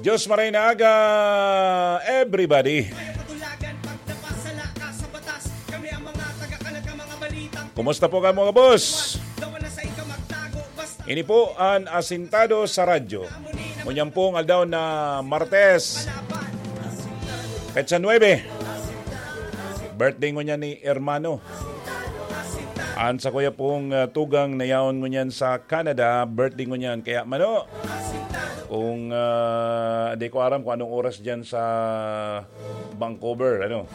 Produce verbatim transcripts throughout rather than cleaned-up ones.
Diyos maray na aga, everybody. Kaya patulagan, pag napasala ka sa batas, kami ang mga taga-kalat ng mga balitang Kumusta po ka, mga boss? Dawa na sa ikaw magtago, basta Ini po an Asintado sa Radyo. Ngunyan pong aldaw na Martes, petsa nuebe. Birthday ngunyan ni Hermano. An sakuya pong, ah, tugang na yaon ngunyan sa Canada, birthday ngunyan. Kaya, mano, kung, ah, di ko aram kung anong oras dyan sa Vancouver, ano.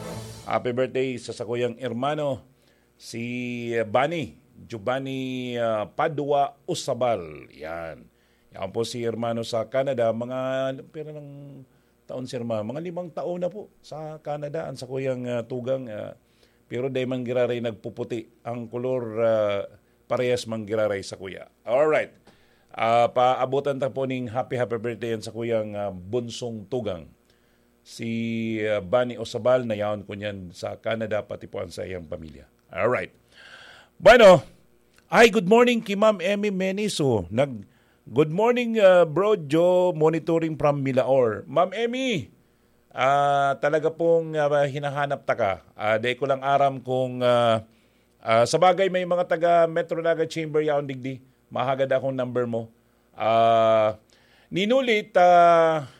Happy birthday sa sakuyang hermano, si Bani, Giovanni, ah, Padua Usabal. Yan. Yan po si hermano sa Canada. Mga, pero ng taon si hermano? Mga limang taon na po sa Canada. Ang sakuyang, ah, tugang, ah, pero dai man giraray nagpuputi. Ang kolor, ah, parehas man giraray sakuya. Alright. Ah, paabutan ta po ning happy, happy birthday yan sakuyang, ah, bunsong tugang. Si, ah, Bani Osabal, na yaon ko niyan sa Canada, pati po ang sa iyang pamilya. Alright. Bueno, ay, good morning ki Ma'am Emmy Meniso. Nag, "Good morning, ah, Bro Joe, monitoring from Milaor." Ma'am Emmy, ah, talaga pong, ah, hinahanap ta ka. Ah, dai ko lang aram kung, ah, ah, sa bagay, may mga taga Metro Naga Chamber yaon digdi. Mahagad akong number mo. Ah, ninulit, ah,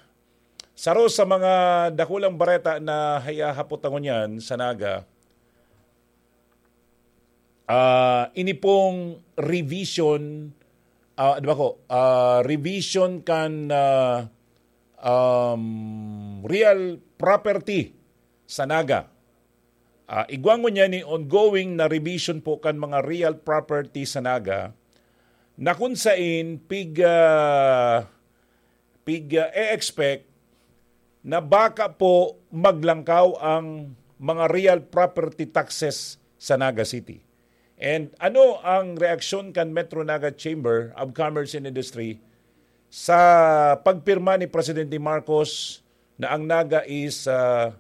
saro sa mga dakulang bareta na hiyahapot ta ngunyan sa Naga, ah, ini pong revision, ah, di ba ko, ah, revision kan, ah, um, real property sa Naga. Ah, igwa ngunyan ni ongoing na revision po kan mga real property sa Naga, na kun sain pig, ah, pig, ah, e-expect na baka po maglangkaw ang mga real property taxes sa Naga City. And ano ang reaksyon kan Metro Naga Chamber of Commerce and Industry sa pagpirma ni Presidente Marcos na ang Naga is, ah,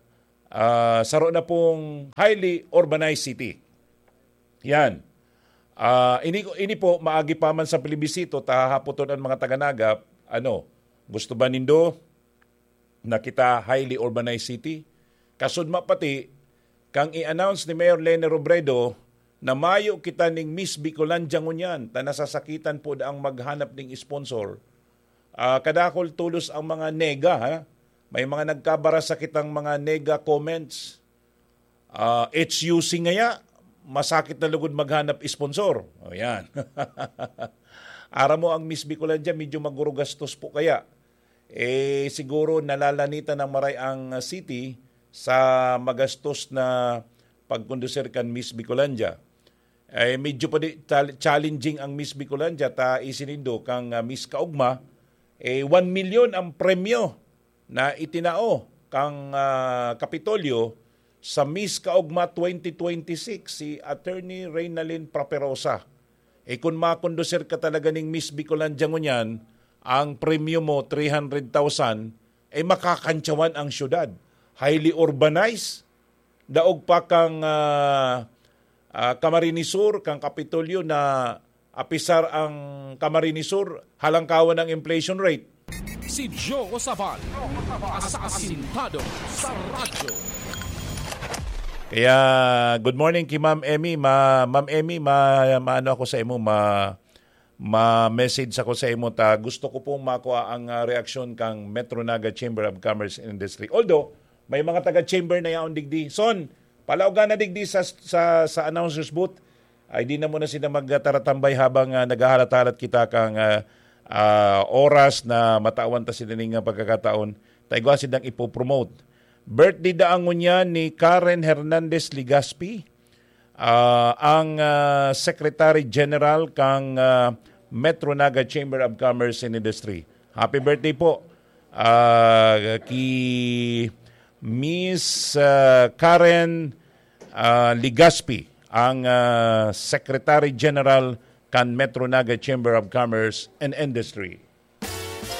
ah, saro na pong highly urbanized city? Yan. Ah, ini, ini po, maagi pa man sa plebisito, ta hahapoton an mga taga-Naga, ano, gusto ba nindo na kita highly urbanized city? Kasudma pati, kang i-announce ni Mayor Leni Robredo na mayo kita ning Miss Bicolandia ngunyan, ta nasasakitan po daang maghanap ning sponsor. Ah, kadakul tolos ang mga nega, ha? May mga nagkabara sa kitang mga nega comments. Ah, H U C ngaya, masakit na lugod maghanap sponsor. O, yan. Aram mo, ang Miss Bicolandia, medyo magurugastos po kaya. Eh, siguro nalalanitan ng maray ang city sa magastos na pagkondusir kan Miss Bicolandia. Eh, medyo pa di, chal-, challenging ang Miss Bicolandia, ta isinindo kang, ah, Miss Kaugma, eh, one million ang premyo na itinao kang, ah, Kapitolyo sa Miss Kaugma twenty twenty-six, si Attorney Reynalyn Paperosa. Eh, kun makondusir ka talaga ning Miss Bicolandia ngunyan, ang premyo mo, three hundred thousand, eh, makakantyawan ang syudad. Highly urbanized, daog pa kang, ah, ah, Camarines Sur, kang Kapitolyo na apisar ang Camarines Sur, halangkawan ang inflation rate. Si Joe Sabal, asasintado sa radyo. Kaya, good morning ki Ma'am Emmy. Ma-, Ma'am Emmy, ma-, maano ako sa imo, ma-, ma-message ako sa imo ta gusto ko pong makua ang, ah, reaksyon kang Metro Naga Chamber of Commerce and Industry. Although, may mga taga-chamber na yaon digdi. Son, palaugan na digdi sa, sa, sa announcer's booth. Ay, di na muna sila magtaratambay habang, ah, naghahalat-halat kita kang, ah, ah, oras na matawan ta sila ning, ah, pagkakataon. Ta igwa sidang ipopromote. Birthday daan ngunyan ni Karen Hernandez Legaspi, ah, ang, ah, Secretary General kang, ah, Metro Naga Chamber of Commerce and Industry. Happy birthday po, ah, ki Miss, ah, Karen, ah, Legaspi, ang, ah, Secretary General kan Metro Naga Chamber of Commerce and Industry.